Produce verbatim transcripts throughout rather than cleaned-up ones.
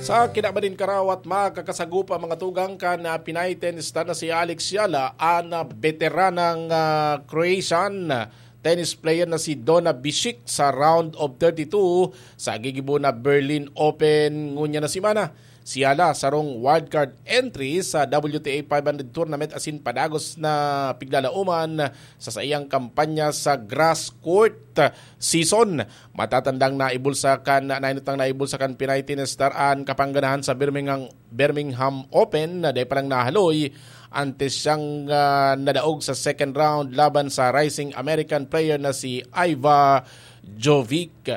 Sa kinaban nin karawat, makakasagupa mga tugang kan, ah, Pinay tennis star na si Alex Yala, an, ah, beteranang, ah, Croatian tennis player na si Donna Bisic sa round of thirty-two sa gigibo na Berlin Open ngunyan na semana. Si Yala, sarong wildcard entry sa W T A five hundred tournament asin padagos na piglalauman sa saiyang kampanya sa grass court season. Matatandang naibulsa kan, nainutang naibulsa kan Pinay tennis star an kapangganahan sa Birmingham, Birmingham Open na dai pa lang nahaloy antes siyang, ah, nadaog sa second round laban sa rising American player na si Iva Jovic.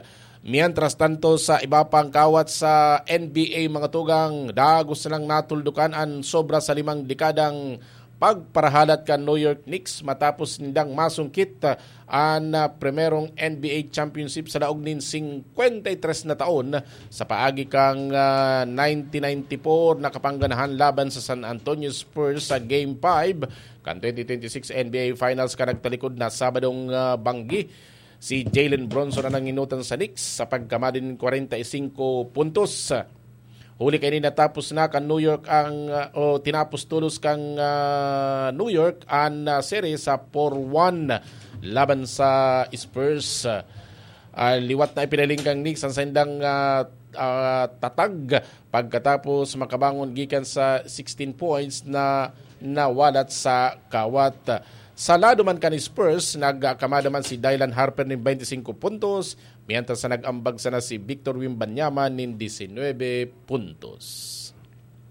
Mientras tanto, sa iba pang kawat sa N B A, mga tugang, dagos na lang natuldukan an sobra sa limang dekadang pagparahalat kan New York Knicks matapos nindang masungkit, ah, an, ah, primerong N B A championship sa laog nin singkwenta y tres na taon sa paagi kan, ah, nineteen ninety-four na kapangganahan laban sa San Antonio Spurs sa Game five kan twenty twenty-six N B A Finals kan nagtalikod na Sabadong, ah, banggi. Si Jalen Brunson an nanginutan sa Knicks sa pagkamadin kwarenta y singko puntos. Huli kaini, natapos na kan New York ang, ah, o tinapos tolos kan, ah, New York an, ah, series sa four one laban sa Spurs. Ah, liwat na ipinahiling kan Knicks an saindang, ah, ah, tatag pagkatapos makabangon gikan sa sixteen points na nawalat sa kawat. Sa lado man kan Spurs, nagkamada man si Dylan Harper nin twenty-five puntos, mientras na nag-ambag sana si Victor Wembanyama nin disinwebe puntos.